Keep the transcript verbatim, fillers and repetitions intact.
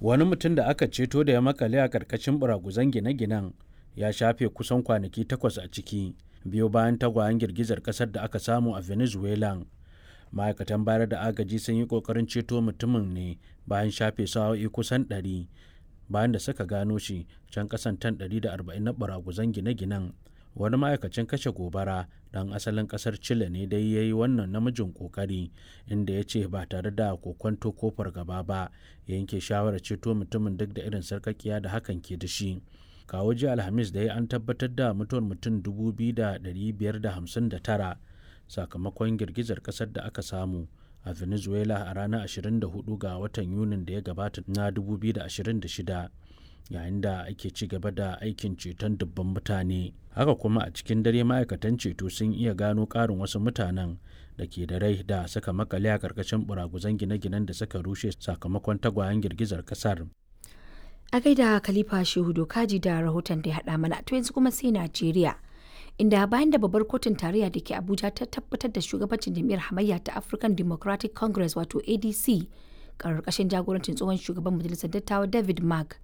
Wani mutum da aka ceto da ya makale a karkashin buraguzan gine-ginen ya shafe kusan kwanaki takwas a ciki, biyo bayan tagwayen girgizar kasar da aka samu a Venezuela. Ma'aikatan bayar da agaji sun yi kokarin ceto mutumin ne bayan shafe sa'o'i kusan ɗari bayan da suka gano shi can kasan tan ɗari da arba'in na baraguzan gine-ginen. Wani ma'aikacin kashe gobara dan asalin kasar Chile ne dai ya yi wannan namijin kokari, inda ya ce ba tare da kokwanto ko fargaba ba ya yanke shawarar ceto mutumin, duk da irin sarkakiya da hakan ke da shi. Kawo jiya Alhamis da ya an tabbatar da mutuwar mutum dubu biyu da ɗari biyar da hamsin da tara sakamakon girgizar kasar da aka samu a Venezuela a ranar ashirin da huɗu ga watan Yunin da ya gabata na dubu biyu da ashirin da shida, yayin da ake ci gaba da aikin ceton dubban mutane. Haka kuma a cikin dare ma'aikatan ceto sun iya gano ƙarin wasu mutanen da ke da rai da suka makale a ƙarƙashin buraguzan gine-ginen da suka rushe sakamakon tagwayen girgizar kasar. A gaida Khalifa Shehu Dokaji da rahoton da ya haɗa mana. To, yanzu kuma sai Najeriya, inda bayan da babbar kotun tarayya da ke Abuja ta tabbatar da shugabancin jam'iyyar hamayya ta African Democratic Congress, wato A D C, karkashin jagorancin tsohon shugaban majalisar dattawa David Mark.